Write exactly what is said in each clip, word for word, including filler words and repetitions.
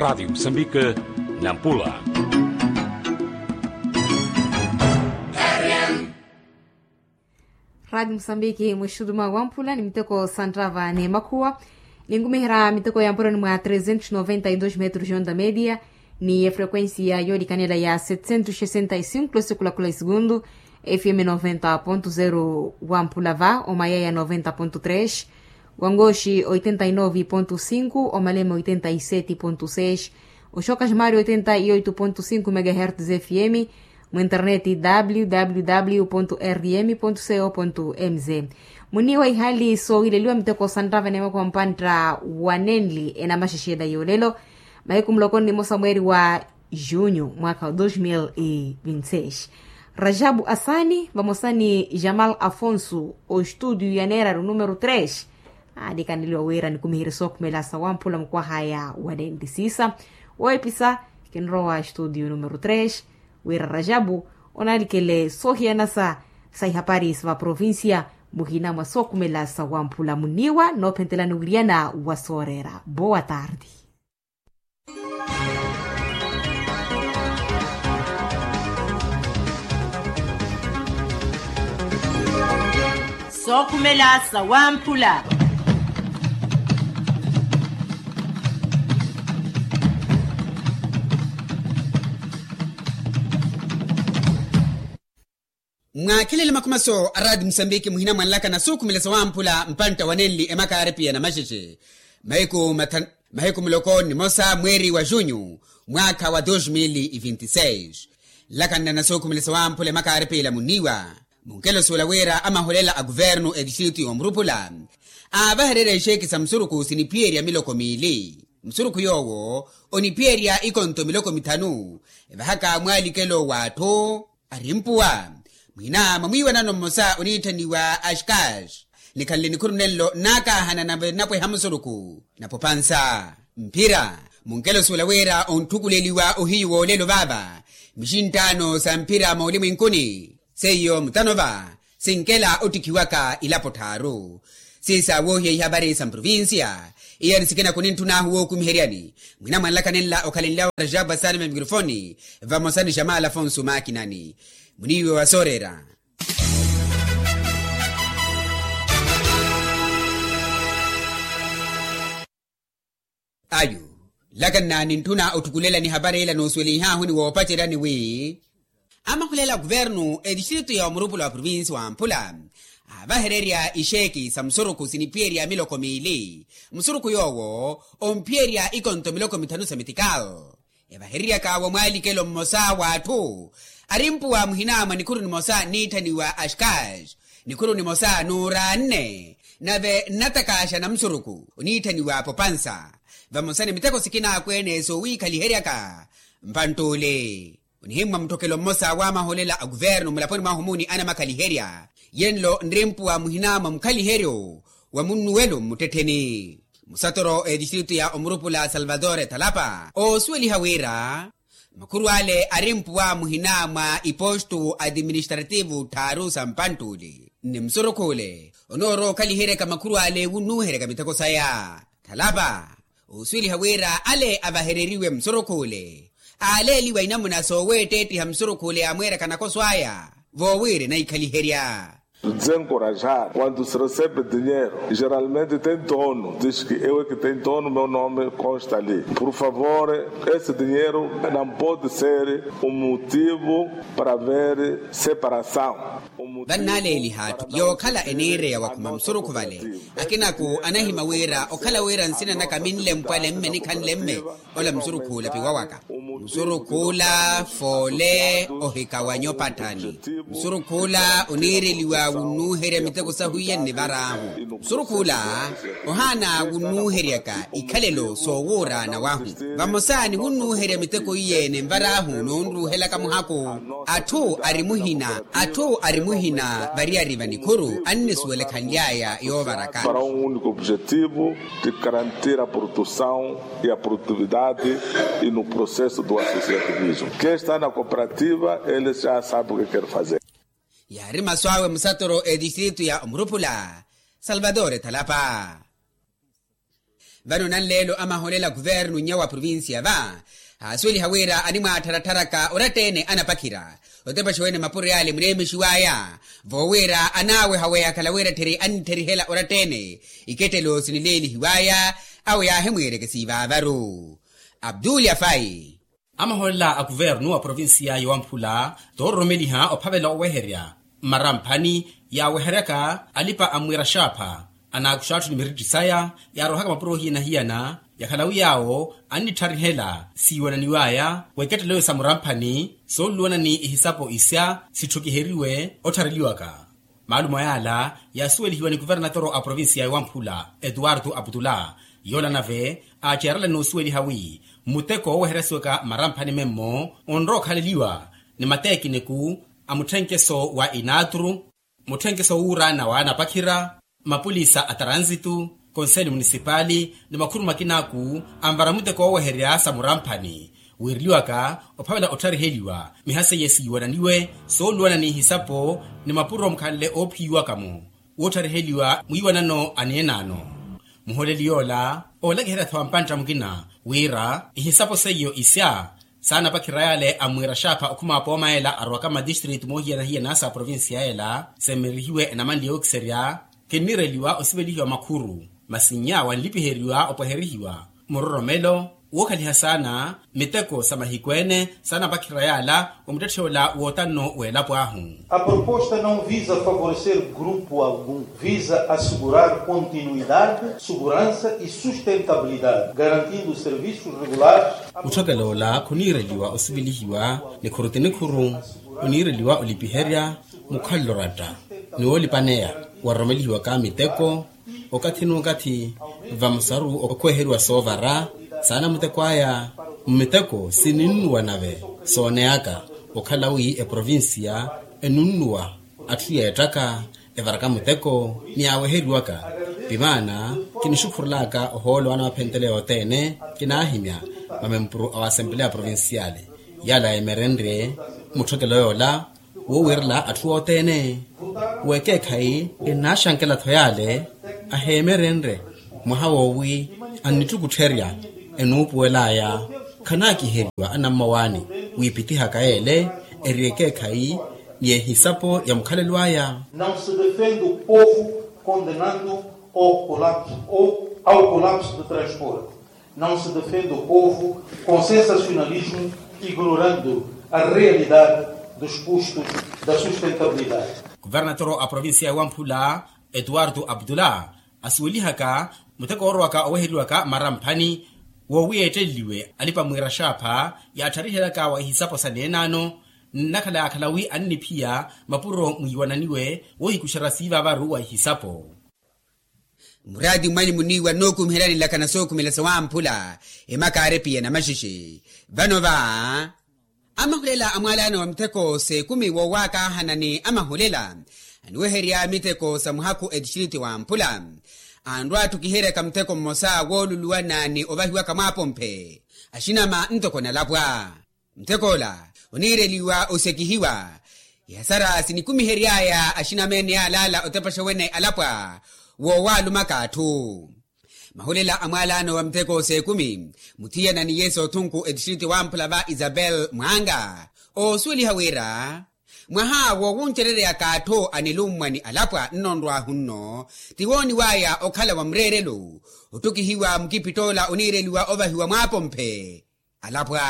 Radi musambike, nampula. Radi musambike mwexutuma wamphula ni miteko santrava ni makhuwa. Ninkumiherya miteko ya mpuroni mwa trezentos noventa y dos metros onda media, ni efrequencia yolikanela ya setecentos sesenta y cinco lose kulakula esegundu. Fm noventa ponto zero wamphula va omayaya noventa ponto tres, wangoxi oitenta y nove ponto cinco omalema oitenta y sete ponto seis, oxoka ximari oitenta y oito ponto cinco megahertz fm. Mu internet www rm co mz. Muniwa ihali soowileliwa miteko santtava ni makuwa mpantta wanenli enamaxexela yoolelo, mahiku muloko ni mosa mweeri wa junho mwaka wa dos mil e vinte seis. Rajabu asani vamosa ni jamal afonso ostudio ya neeraru numero tres. Aanikaneliwa wira nikumiherye sookhumela sa wamphula mukwahaya wanenli siisa. Weepisa kinrowa studio numero tres, wira rajabu onaalikele soohiyanasa sa ihapari sa vaprovincia muhina mwa sookhumela sa wamphula muniwa noophentelani wiriyana wa sooreera boa tardi. Sookhumela sa wamphula. Mwaakhelele makhumaso a radi musambiki muhina mwanlaka na sookhumela sa wamphula mpantta wanenli emakaaripiya na maxexe. Mahiku muloko ni mosa mweeri wa junho mwaakha wa dos mil e vinte seis. Nlakanna na sookhumela sa wamphula emakaaripiya muniwa. Munkelo suula wira amaholela a kuvernu etistritu y'omurupula aavahererya ixeeki sa musuruku siniphiyerya miloko miili. Musuruku yoowo oniphiyerya ikonto miloko mithanu. Evahaka mwaalikelo w'atthu arimpuwa mwina mwa mwiiwanano mmosa oniitthaniwa ashkash. Nikhanle nikhuru nenlo nnaakaahana nave nnapweha musuruku napopansa mphira. Munkelo suula wira ontthukuleliwa ohiyu woolelo vaava mixinttaano sa mphira moolimwinkuni. Seiyo mutanova sinkela ottikhiwaka ilapo tthaaru. Siisa woohiya ihavari sa mprovincia. Iyani sikina kunintthunahu wookumiheryani mwina mwanlaka nenla okhalenlyawo rajabu asani va mikrofoni vamosa ni jamal afonso maakinani. Muniiwe wa sooreera. Ayu nlakanna nintthuna otthukulela nihapari ila noosuwelihaahu ni woopaceryani wi amahulela a kuvernu etistritu ya omurupula wa provinsi wamphula aavahererya ixeeki sa musuruku siniphiyerya miloko miili. Musuruku yoowo omphiyerya ikonto miloko mithanu sa mitikal. Evahereryaka wa mwaalikelo mmosa w'atthu arimpuwa muhina mwa nikhuru nimosa niitthaniwa ashkash. Nikhuru nimosa nuuraanne nave nnatakaaxa na musuruku oniitthaniwa popansa vamosa ni miteko sikina akweene soowiikhaliheryaka mpantt'ule. Onihimmwa mutthokelo mmosa w'amaholela a kuvernu mulaponi mwahu muuni anamakhaliherya yenlo nrimpuwa muhina mwa mukhaliheryo wa munnuwelo mmuttettheni. Musatoro etistritu ya omurupula salvador ethalapa oosuweliha wira makhuru ale arimpuwa muhina mwa ipostu atiministrativu tthaaru sa mpantt'ule. Nni musurukh'ule onoorowa okhaliheryaka makhuru ale wunnuuheryaka miteko saya. Thalapa oosuweliha wira ale avahereriwe musurukh'ule aaleeliwa inamuna sooweetteettiha musurukh'ule yaamweeryaka nakoso aya voowiire naikhaliherya. Desencorajar quando se recebe dinheiro geralmente tem dono diz que eu é que tem dono meu nome consta ali. Por favor, esse dinheiro não pode ser um motivo para haver separação. Vannaaleeliha atthu yookhala eniireya wakhuma musurukhu vale. Akinako anahimya wira okhala wira nsina naka minlempwale mme nikhanle mme ola musurukhuula piwawaka. Musurukhuula foole ohikawanya opatthani. Musurukhuula oniireliwa wunnuuherya miteko sahu iye nnivar'ahu. Musurukhuula ohaana wunnuuheryaka ikhalelo soowuuraana wahu. Vamosa ni wunnuuherya miteko iye ninvar'ahu noonruuhelaka muhako. Atthu ari muhina atthu ari muhina variyari va nikhuru annisuwelekhanly'aya yoovaraka. Para um único objetivo de garantir a produção e a produtividade e no processo do associativismo. Quem está na cooperativa ele já sabe o que quer fazer. Yaari masu awe musatoro etistritu ya omurupula salvador ethalapa. Vano nanleelo amaholela kuvernu nnya wa provincia va aasuweliha wira animwaattharattharaka oratta-ene anapakhira otepaxa wene mapuro yaale muneemexiw'aya voowira anaaweha weyakhala wira tthiri annittherihela oratta-ene ikettelo sinileelihiw'aya awo yaahimwiireke siivaavaru. Abdul yafai. Amaholela a kuvernu wa provincia ya wamphula toororomeliha ophavela oweherya mmaramphani yaaweheryaka alipa a mwiira xaapha anaakuxa atthu ni miritthi saya yaarohaka mapuro hiyana-hiyana yakhala wi yaawo annittharihela siiwananiw'aya w'ekettelo sa muramphani soonluwana ni ihisapo isya sitthukiheriwe otthareliwaka. Maalumo yaala yaasuwelihiwa ni kuvernatoro a provincia ya wamphula etuwartu aputula yoola nave aaceerela n'usuweliha wi muteko wooweheryasiwaka mmaramphani memmo onrowa okhaleliwa ni mateekiniku a mutthenkeso wa inaaturu mutthenkeso wuuraana wa anapakhira mapulisa a taransitu konseli munisipaali ni makhuru makinaaku anvara muteko wooweherya sa muramphani wiireliwaka ophavela otthariheliwa miha seiye siiwananiwe sooluwana ni ihisapo ni mapuro mukhanle oophiyiwaka-mo wootthariheliwa mwiiwanano a neenaano. Muholeli yoola oolakiherya-tho wa mpantta mukina wira ihisapo seiyo isya saanapakhira yaale a mwiira xaapha okhuma apooma ela arowaka mmadistritu moohiyana-hiyana sa provincia ela semmerihiwe enamanle yookiserya kinniireliwa osivelihiwa makhuru masi nnya wanlipiheriwa opweherihiwa muroromelo wookhaliha saana miteko sa mahiku-ene saanapakhira yaala wa muttetthe ola wootanno w'elapo ahu. A proposta não visa favorecer grupo algum, visa assegurar continuidade, segurança e sustentabilidade garantindo serviços regulares. Mutthokela ola khuniireliwa osivelihiwa nikhuru ti nikhuru oniireliwa olipiherya mukhalelo oratta ni woolipaneya waroromelihiwaka miteko okathi n'ukathi vamosaru okhweheriwa soovara saana muteko aya mmiteko sininnuwa nave sooneyaka okhala wi eprovincia enunnuwa atthu yeettaka evaraka muteko ni yaaweheriwaka. Pimaana kinixukhurelaka ohoolo anawaphentele yothene kinaahimya mamempuru a waasempeleya provinciale yaala yeemerenrye mutthokelo yoola woowiirela atthu othene w'ekeekhayi enaaxankela-tho yaale aheemerenrye mwaha woowi annittukuttherya enuupuwel'aya khanaakiheriwa anammawaani wiipitihaka yeele eri ekeekhayi ni ehisapo ya mukhalelo aya. Não se defende o povo condenando ao colapso ou ao colapso de transporte. Não se defende o povo com sensacionalismo ignorando a realidade dos custos da sustentabilidade. Kuvernatoro a provincia ya wamphula etuwartu abdullah asuwelihaka muteko woorowaka oweheriwaka mmaramphani woowi yeetteleliwe alipa mwiira xaapha yaattharihelyaka wa ihisapo sa neenaano nnakhala yaakhala wi anniphiya mapuro mwiiwananiwe woohikuxerya siivaavaru wa ihisapo. Muraati mmwani muniiwa nnookumiheryani nlakha na sookhumela sa wamphula emakaari piya na maxixi vano va amahulela a mwaalaano wa mitheko s'ekumi woowaakaahana ni amahulela aniweherya mitheko sa muhakhu etistriti wamphula anrwa atthukiheryaka mutheko mmosa wooluluwana ni ovahiwaka mwaapomphe axinama ntoko nalapwa. Muteko ola oniireliwa osekihiwa ihasara sinikumihery'aya axinama ene yaalaala otepaxa wene alapwa woowaalumaka atthu. Mahulela a mwaalaano wa muteko s'ekumi muthiyana ni yesu othunku etistriti wamphula va isabel mwanga oosuweliha wira mwaha woowuncereryaka atthu anilummwa ni alapwa nnonrwahu nno ti wooniw'aya okhala wa mureerelo ottukihiwa mukipitoola oniireliwa ovahiwa mwaapomphe. Alapwa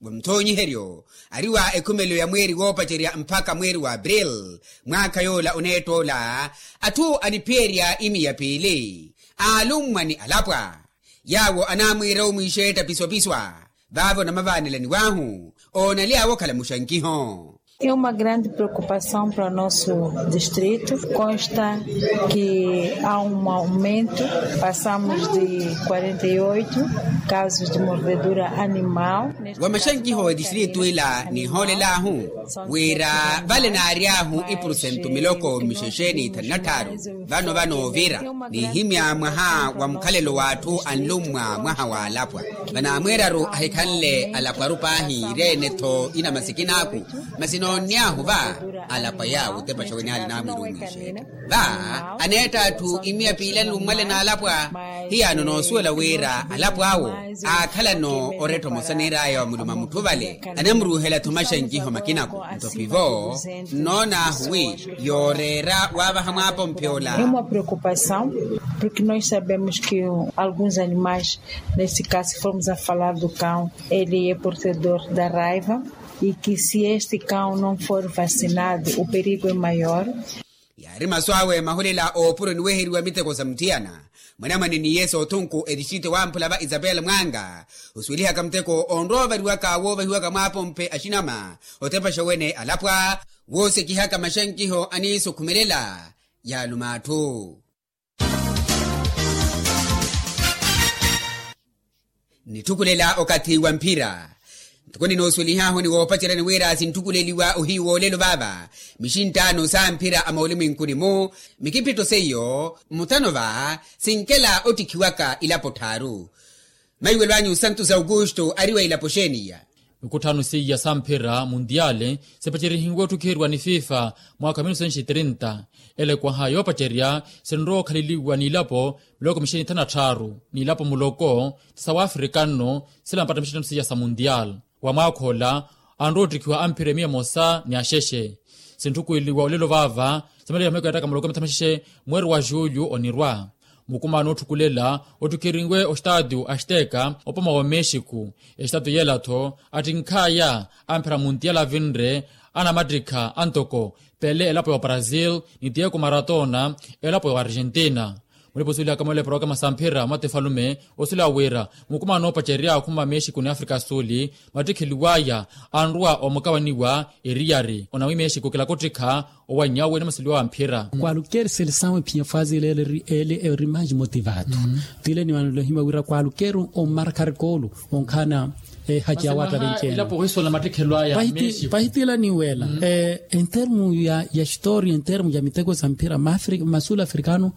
wa muthoonyiheryo ari wa ekhumelo ya mweeri woopacerya mpakha mweeri wa april mwaakha yoola oneettoola atthu aniphiyerya imiya piili aalummwa ni alapwa yaawo anaamwiira omwiixetta pisopiswa vaavo namavaanelaniw'ahu oonaly'awe okhala muxankiho. E uma grande preocupação para o nosso distrito consta que há um aumento, passamos de quarenta e oito casos de mordedura animal. Wa maxankiho wa etistrito ila nihoolel'ahu wira vale naary'ahu ipurusentu miloko mixexe ni ithanu na tthaaru vano vanoovira nihimya mwaha wa mukhalelo w'atthu anlummwa mwaha w'alapwa vanaamweeraru ahikhanle alapwaru paahi ireene-tho inamasikin'aku masi Noonny'ahu va alapwa yaawo otepa xa wene ale naamwirumixe. Va aneetta atthu imiya piilani lummwale n'alapwa. Hiyaano noosuwela wira alapwa awo aakhalano oretta omosa niir'aya wa muluma mutthu vale. Anamuruuhela thomaxa nkiho makinako nto pivo. Nnoon'ahu wi yooreera waavaha mwaapomphe ola. Uma preocupação, porque nós sabemos que alguns animais, neste caso formos a falar do cão, ele é portador da raiva. E que se este cão não for vacinado o perigo é maior. Yaari masu awe mahulela oopuro niweheriwa miteko sa mutthiyana. Mwanamwane ni yesu othunku etixite wamphula va isabel mwanga osuwelihaka muteko onroovariwaka woovahiwaka mwaapomphe axinama otepaxa wene alapwa. Woosekihaka maxankiho aniisukhumelela yaaluma atthu. Nitthukulela okathi wa mphira. Ntuku ninoosuwelih'ahu ni woopaceryani wira sintthukuleliwa ohiyu woolelo vaava mixinttaano sa mphira a moolimwenkuni-mu. Mikiphitto seiyo mutano va sinkela ottikhiwaka ilapo tthaaru. Maiwelo anyu santos augusto ari wa ilapo xeeni iya? Mikutthano seiya sa mphira mundiale sipacerihiwe ottukheriwa ni fifa mwaakha wa minutu senshi trinta. Ele ekwaha yoopacerya sinrowa okhaleliwa n'ilapo miloko mixini thanu na tthaaru n'ilapo muloko sa waafrika nno. Silampattamixitano seiya sa mundial wa mwaakha ola anrowa ottikhiwa a mphira emiya emosa ni axexe. Sintthukuweliwa olelo vaava simaleya miheko yattaka muloko mitha maxexe mweeri wa julho onirwa. Mukumaano otthukulela ottikhirinwe ostaatio asteka opoma wa mexico. Estaatio yeela-tho attinkh'aya a mphira muntiala avinre anamattikha antoko pele elapo ya obrasil ni diego maratona elapo ya oargentina. Mulipa osuwelihaka moole porokama sa mphira mwa tifalume osuwela wira mukumaano oopacerya akhuma mexico ni afrika suuli mattikheliw'aya anruwa omukawaniwa eriyari onamwi mexico kilaka ottikha owanny'awe ni maseliwa wa mphira. Kwalukeri selesawu ephiya faazi ele eri maji motivatu. Tile ni manelo ohima wira kwalukeri omarkari koolu onkhana ehaci ya watta venceene. Pahitila niwela entermu ya histori entermu ya miteko sa mphira masuulu afrikano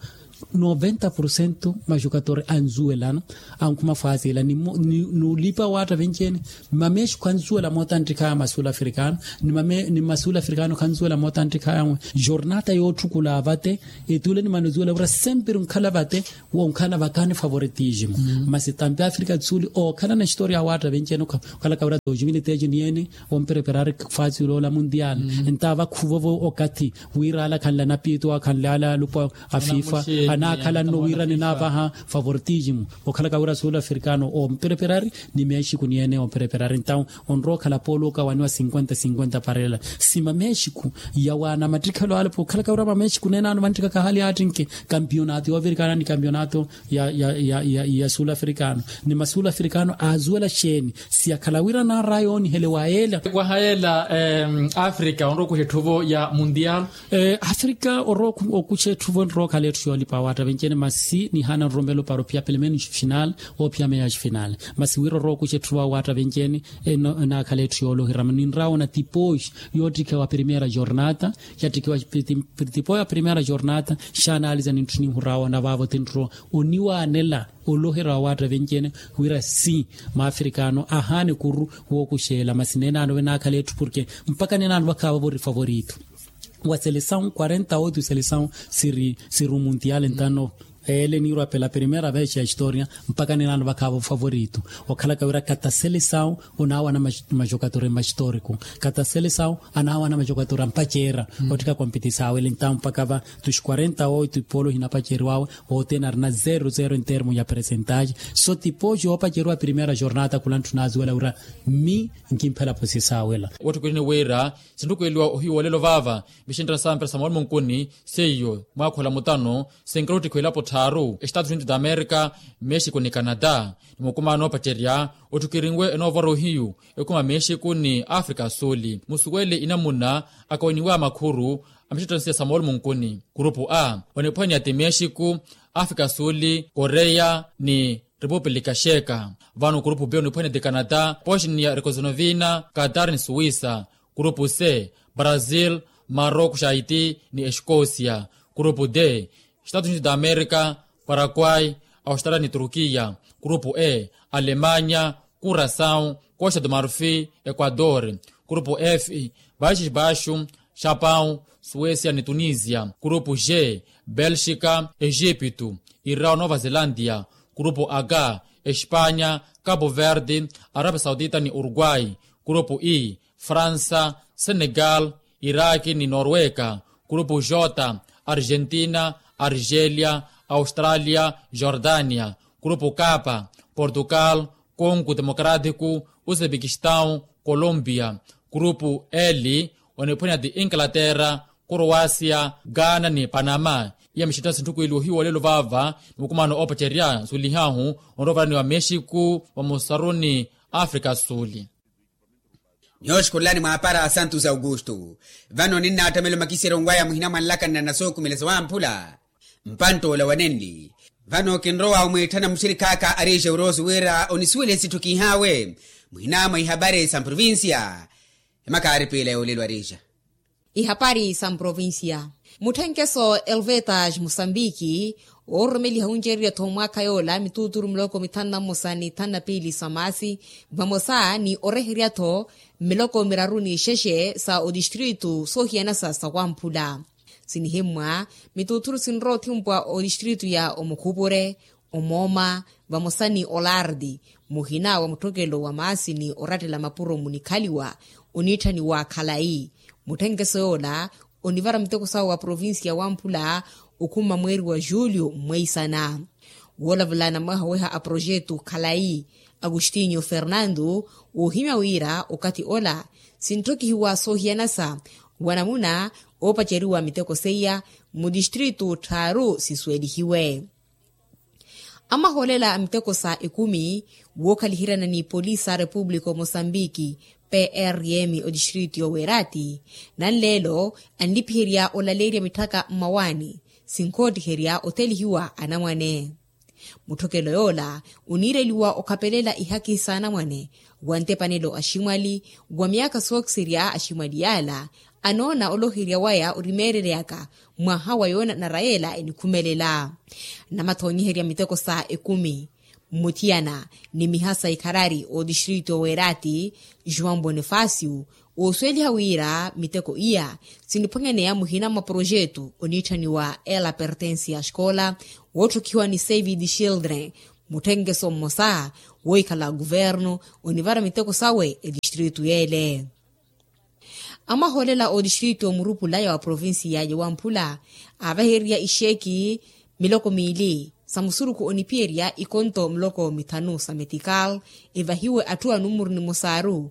noventa porcento majukatori anzuwelana ankhuma faazi ela ni olipa watta venceene. Mamexico anzuwela moota anttikha ya masuulu afrikano ni masuulu afrikano khanzuwela moota anttikha ya jornata yootthukulaa vate. Etule ni manozuwela wira sempre onkhala vate wonkhala vakani favoritismo. Masi tampi afrika tsuli okhalana histori ya watta venceene okhalaka wira dos mil e tres niyeene ompereperari faazi oloola mundial. Nta vakhuvovo okathi wira ala khanle anapiito akhanle ala alupwa a fifa anaakhala nno wira ninaavaha favoritismo okhalaka wira sul afrikano ompereperari ni mexico niyeene ompereperari ntawu onrowa okhala poolo okawaniwa cinquenta cinquenta parela. Si mamexico yawaana mattikhelo ale pookhalaka wira mamexico neenaano vanttikaka hali attinke kampionato yoovirikana ni kampionato ya sul afrikano ni masuulu afrikano aazuwela xeeni? Siyakhala wira naaraya oonihele wa yeela. Waha yeela afrika onrowa okuxa etthuvo ya mundial. Afrika orowa okuxa etthuvo enrowa okhala etthu yoolipa awatta venceene masi nihaana nroromelo para ophiya pelemeno xi final ophiya meya xi final. Masi wira orowa okuxa etthuvo awatta venceene enaakhala etthu yoolohirama ninrawa ona tipoxi yoottikhiwa primera jornata yattikhiwa tipoxi ya primera jornata xaanaliza nintthi ninhurawa ona vaavo tinrowa oniwaanela oloherya wa watta venceene wira si maafrikano ahaana ekuru wookuxeela masi neenaano venaakhala etthu porke mpaka neenaano vakhaava vori favorito wa selesawu quarenta oito selesawu siri omuntiale ntano. Ele niirwa pela primera vez ya historia mpaka neenaano vakhaava ofavorito okhalaka wira kata selesawu onaawana majokatori mahistoriko kata selesawu anaawana majokatori ampaceera ottika kompetisawu ele ntawu mpaka va tuxi quarenta oito ipolo hinapaceriwawe. Othene arina zero zero entermu ya presentaxe so tipoxi yoopaceriwa primera jornata khula ntthu naazuwela wira mmi nkimphela posisawela. Wootthukilini wira sintthukileliwa ohiyu woolelo vaava vixinttana sa mpira sa moolumo nkuni seiyo mwaakhola mutano sinkela ottikhiwa elapo tthaaru estatus unidos da america mexico ni canada. Ni mukumaano oopacerya otthukirinwe enoovora ohiyu ekhuma mexico ni afrika suuli musuwele inamuna akawiniwa makhuru a mixittansiya sa moolumo nkuni kurupu a oniphwanya ti mexico afrika suuli koreya ni repupulika xeka. Vano kurupu b oniphwanya ti canada bosnia herzegovina qatar ni suwisa. Kurupu c brazil maroko xaiti ni exkosia. Kurupu d estatus unidos da america paraguay australia ni turkiya. Kurupu e alemanya kurasawu kosia do marfi ekuador. Kurupu f, paixis baixu, xapão, suécia ni tunisia. Kurupu g, belxika, exipitu, irrao nova zelandia. Kurupu h, espanya, kapu verde, arabia saudita ni uruguai. Kurupu i, fransa, senegal, iraki ni norweka. Kurupu j, argentina, argelia, australia, jordania. Kurupu k, portugal, kongo demokrátiku, uzebekistão, colombia. Kurupu l, oniphwanya ti inglaterra, croacia, ghana ni panama. Iya mixitthasi ntthuku ili ohiwa olelo vaava ni mukumano oopacerya nsuwelihahu onrovarani wa mexiku vamosaru ni afrika suuli. Nyooxukhulelani mwaapara santos augusto. Vano ninnaatthamela omakiseryo nwaya muhina mwa nlakani na nasookumeleso wamphula. Mpantt'ola wa nenli vano kinrowa omwiitthana muxirikhaaka ari exeuroso wira onisuwelihe sitthu kiihaawe muhina mwa ihapari sa mprovincia. Emakaari piila yoolelo arija. Ihapari sa mprovincia. Mutthenkeso elvetas musambiki oororomeliha wuncererya-tho mwaakha yoola mituuturu miloko mithanu na mmosa ni thanu na piili sa maasi vamosa ni oreherya-tho miloko miraru ni ixexe sa otistritu soohiyanasa sa wamphula. Sinihimmwa mituuturu sinrowa othimpwa otistritu ya omukhupure, omooma vamosa ni olardi muhina wa mutthokelo wa maasi ni orattela mapuro munikhaliwa oniitthaniwa khalayi. Mutthenkeso yoola onivara muteko sawe wa provincia wamphula okhuma mweeri wa julio mmweisana. Woolavula namwaha oweha a projetu khalayi agostinho fernando woohimya wira okathi ola sintthokihiwa soohiyanasa wa namuna oopaceriwa miteko seiya mutistritu tthaaru sisuwelihiwe. Amahoolela a miteko sa ekumi wookhaliheryana ni polisi a repupulika omosambiki prm otistritu yoweerati nanleelo anlipiherya olaleerya mitthaka mmawaani sinkoottiherya othelihiwa anamwane. Mutthokelo yoola oniireliwa okhapelela ihakihi s'anamwane wa ntepanelo aximwali wa myaakha sookiserya aximwali yaala anoona oloherya waya orimeereryaka mwaha wa yoona narayeela enikhumelela. Namathoonyiherya miteko sa ekumi mmuthiyana ni miha sa ikharari otistritu oweerati joão bonifacio oosuweliha wira miteko iya siniphwanyaneya muhina mwa projetu oniitthaniwa ela pertensia xkola wootthokihiwa ni save the children. Mutthenkeso mmosa woohikhala kuvernu onivara miteko sawe etistritu yeele. Amahoolela otistritu omurupula ya wa provincia ya wamphula aavahererya ixeeki miloko miili sa musuruku oniphiyerya ikonto miloko mithanu sa metikal evahiwe atthu a numuru nimosaaru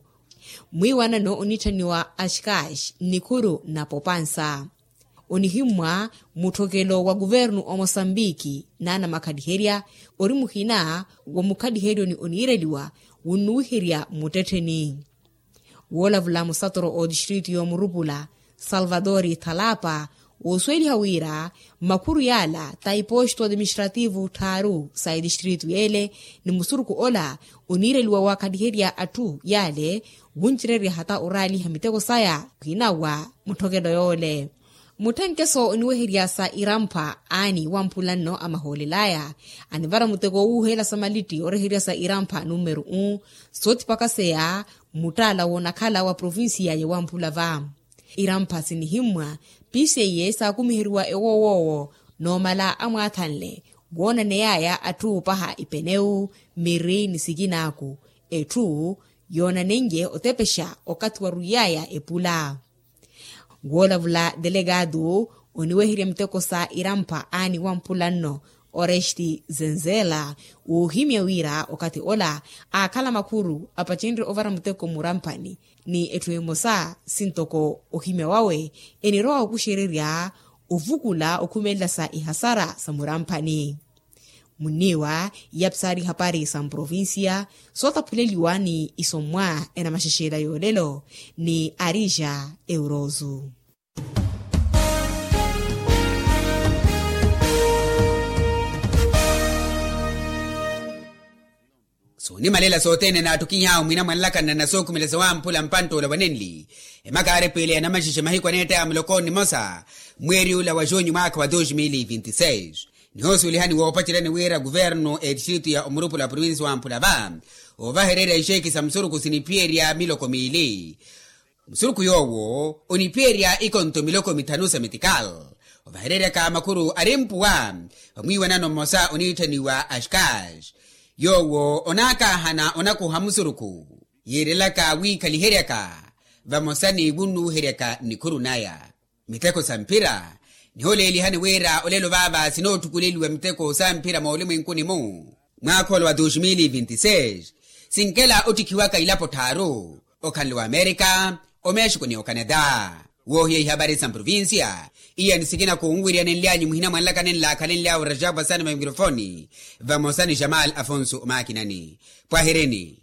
mwiiwanano oniitthaniwa axkax nnikhuru na popansa. Onihimmwa mutthokelo wa kuvernu omosambiki naanamakaliherya ori muhina wa mukhaliheryoni oniireliwa wunnuwiherya mmuttettheni. Woolavula musatoro otistritu yoomurupula salvatori thalapa woosuweliha wira makhuru yaala ta iposto atiministrativu tthaaru sa etistritu yeele ni musuruku ola oniireliwa waakhaliherya atthu yaale wuncererya hata oraaliha miteko saya khwinawa mutthokelo yoole. Mutthenkeso oniweherya sa irampha aani wamphula nno amahoolel'aya anivara muteko owuuheela sa malitti oreherya sa irampha numero um soothipakaseya mmuttaala woonakhala wa provincia ya wamphula va. Irampha sinihimmwa piiseiye saakumiheriwa ewoowoowo noomala amwaathanle woonaney'aya atthu opaha ipenewu miri ni sikinaaku etthu yoonanenrye otepexa okathi warwiy'aya epula. Woolavula delegado oniweherya miteko sa irampha aani wamphula nno oresti zenzela woohimya wira okathi ola aakhala makhuru apacenrye ovara muteko muramphani ni etthu emosa sintoko ohimya wawe enirowa okuxererya ovukula okhumelela sa ihasara sa muramphani. Munniiwa iyapsari ihapari sa mprovincia sootaphuleliwa ni isommwa enamaxexela yoolelo ni arija eurozu. Soonimalela sothene naattukiny'awe mwina mwanlakani na nasookhumela sawamphula mpantt'ula wa nenli emaka aarepwiile ya namaxexe mahiku aneettaya muloko nimosa mweeri ula wa junyu mwaakha wa dos mil vinti seis. Nihoosuwelihani woopaceryani wira kuvernu etistritu ya omurupula wa provinsi wamphula va oovahererya ixeeki sa musuruku siniphiyerya miloko miili. Musurukhu yoowo oniphiyerya ikonto miloko mithanu sa metikal ovahereryaka makhuru ari mpuwa. Vamwiiwanano mmosa oniitthaniwa ashkash yoowo onaakaahana onakuha musurukhu yiirelaka wiikhaliheryaka vamosa ni wunnuuheryaka nnikhuru naya. Miteko sa mphira niholeelihani wira olelo vaava sinoottukuleliwa miteko sa mphira moolimwenkuni-mu mwaakha ola wa dos mil e vinti seis. Sinkela ottikhiwaka ilapo tthaaru okhanle wa amerika, omexiko ni okanada. Woohiya ihabari sa mprovincia iya ni sikina khunwiryanenlyanyu muhina mwanlaka nenlaakhalenlyawe rajabo asani va mikrofoni vamosa ni jamal afonso omaakinani. Pwahereni.